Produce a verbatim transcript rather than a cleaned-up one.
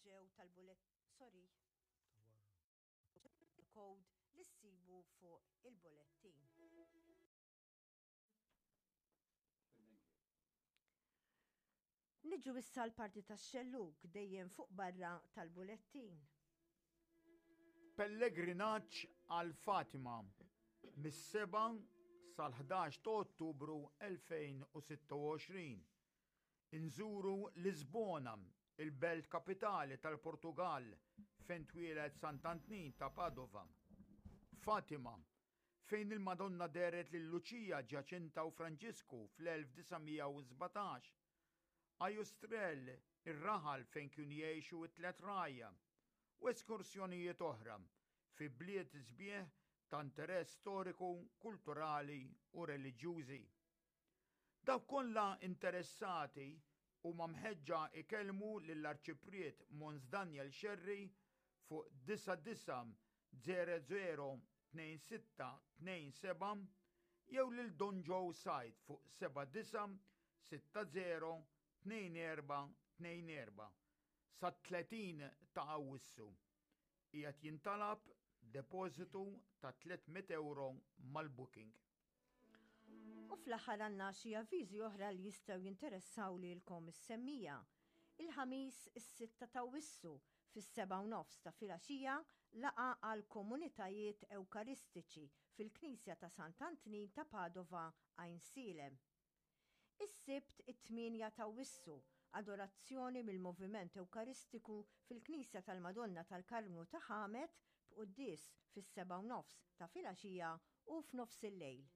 ġew tal-bullet, sorry, code li ssibu fuq il-bullettin. Niġu issa l-parti tax-xellug dejjem fuq barra tal-bullettin. Pellegrinaġġ għal Fatima mis-sebgħa sal-ħdax ta' Ottubru elfejn u sitta u għoxrin. Inżuru Lisbona, il-belt kapitali tal-Portugal fejn twieled Sant'Antnin ta' Padova. Fatima, fejn il-Madonna dehret lil Lucia, Ġaċinta u Franġisku fl-elf disa' mija u sbatax. Aljustrel, ir-raħal fejn kienu jgħixu t-tliet rgħajja, u eskursjonijiet oħra fi bliet sbieħ ta' interess storiku, kulturali u reliġjużi. Dawk kollha interessati huma mħeġġa ikellmu lill-Arċipriet Mons Daniel Scerri fuq disa disa zero zero tnejn sitta tnejn seba' jew lil Don Joe Said fuq seba' disa sitta zero tnejn erba' tnejn erba' sa tletin ta' Awwissu. Qiegħed jintalab depożitu ta' tliet mitt euro mal-booking. U fl-aħħar għandna xi avviżi oħra li jistgħu jinteressaw lilkom is-semmija. Il-Ħamis is-sitta ta' Awwissu fis-sebgħa u nofs ta' filgħaxija laqa għal komunitajiet ewkaristiċi fil-Knisja ta' Sant'Antnin ta' Padova Għajnsielem. Is-Sibt it-tmienja ta' Awwissu, adorazzjoni mill-Moviment Ewkaristiku fil-Knisja tal-Madonna tal-Karmnu ta' Ħamet b'quddies fis-sebgħa u nofs ta' filgħaxija u f'nofs il-lejl.